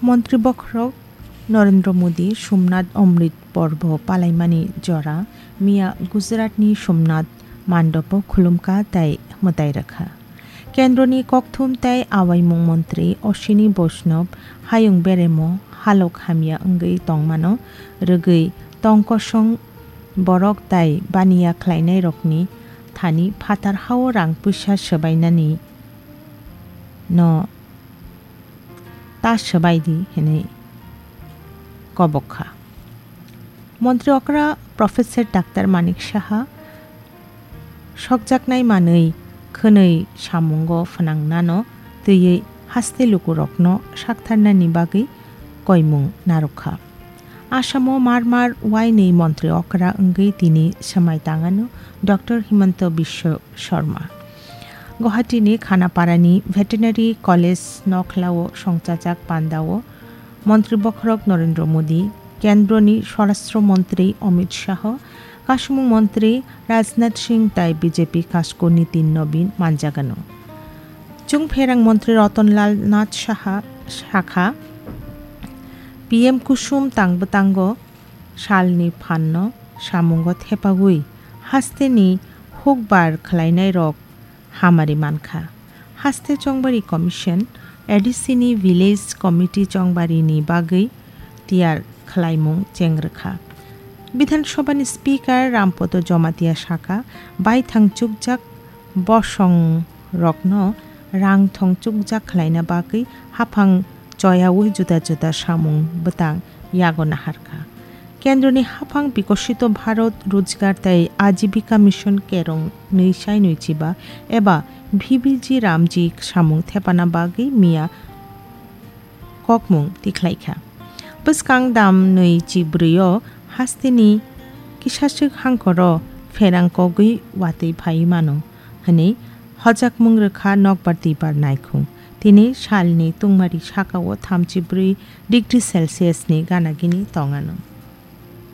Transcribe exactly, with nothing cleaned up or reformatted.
Montri bokhorok Narendra Modi Somnath Amrit Porbo palaimani jora miya Gujaratni Somnath Mandopo khulumkha tei mwtai rwkha. Kendroni kokthum tei awaimung montri Ashwini Vaishnaw hayung beremo halok hamya wngwi tongmano rwgwi tongkosong borok tai baniya khlainairokni thani phatar hao rang puisa swbainani no ta swbai di hwnwi kobok kha. Montri okra Professor Doctor Manik Saha sokjaknai manwi khwnwi samungo phwnangnano twiwi haste lukurokno saktharnani bagwi koimung narwkha. Asamo mar mar wainwi montri okra wngwi tini swmai tangano Doctor Himanta Biswa Sharma. Guwahati ni Khanaparani Veterinary College nokhlao songchajak pandao Montri bokhorok Narendra Modi, Kendroni Swarashtra Montri Amit Shah, Kasumung Montri Rajnath Singh tai B J P Kasko Nitin Nobin manjagano. Chungpherang Montri Ratan Lal Nath Saha sakha, P M Kusum tang bwtango salni phanno samungo thepagwi hasteni hukbar khlainairok hamari mankha. Haste Chongbari Commission, A D C ni Village Committee Chongbari ni bagwi tiyar khlaimung chengrwkha. Bidhan Sabha ni Speaker Rampada Jamatia sakha, baithang chukjak bosong rokno rang thong chukjak khlaina bagwi haphang choyaui juda juda samung bwtang yago naharkha. Kendroni haphang Bikosito Bharat Rojgar tei Ajibika Mission Kerong nwi sai nwi chiba eba V B G Ramji samung thepana bagwi miya kokmung tikhlaikha. Bwskang dam nwi chibrwi o hasteni kisaswk hangkoro pherang kogwi watwi phai mano hwnwi hojakmung rwkha nokbar twibar naikhung. Tini salni tungmari sakao thamchi brwi degree Celsius ni gana gini tongano.